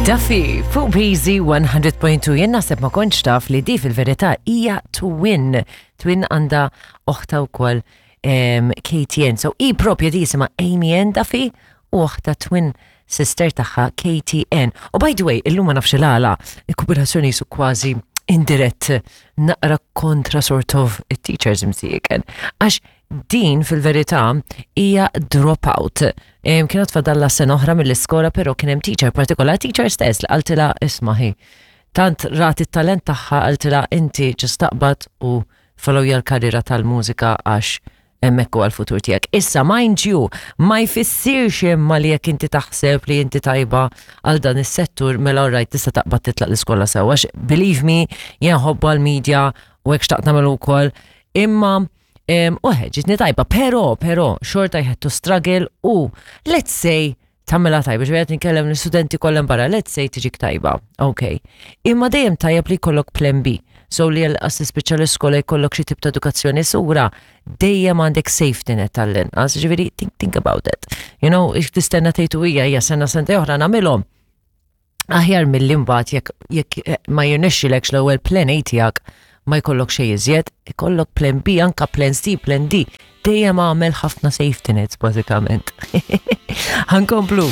Duffy fuq Breezy 100.2 jien naħseb ma kontx taf li di fil-verità hija twin. Twin għandha oħta wkoll Katie Ann. So i propja di jisimha Amy Ann Duffy u oħta twin sister tagħha Katie Ann. U by the way, illum ma nafx il-għala, il-kooperazzjoni jisu kważi indirett naqra kontra sort of it-teachers imsieken. Għax Din fil-verità hija dropout. Kienet fadalla sena oħra mill-iskola però kien hemm teacher partikolar, teacher stess li qaltilha isma' hi. Tant rat it-talent tagħha qaltilha inti ġust taqbad u followja l-karriera tal-mużika għax hemmhekk huwa l-futur tiegħek. Issa mind you, ma jfissirx imma li jekk inti taħseb li inti tajba għal dan is-settur mela alright tista' taqbad titlaq l-iskola sew għax believe me jien ħobbu għall-media u hekk xtaqt nagħmel ukoll. Imma U ġitni tajba, pero, pero, xorta I had to struggle u let's say tamela tajba, ġvejat nkellem l-studenti kollem barra, let's say tiġik tajba, ok. Imma dejjem tajjeb li jkollok plan B. So li għal tispiċċa l-iskola jkollok xi tip ta' edukazzjoni sura, dejjem għandek safety net tal-inqas, ġifieri think, think about it. You know, tistenna tgħidu hija hija sena sentej oħra nagħmilhom. Aħjar milli mbagħad jekk jekk eh, ma jirnexxilekx l-ewwel plan A tiegħek ma jkollok xejn iżjed, ikollok plan B, anka plan C, plan D. Dejjem għamel ħafna safety nets bażikament. Ħankomplu.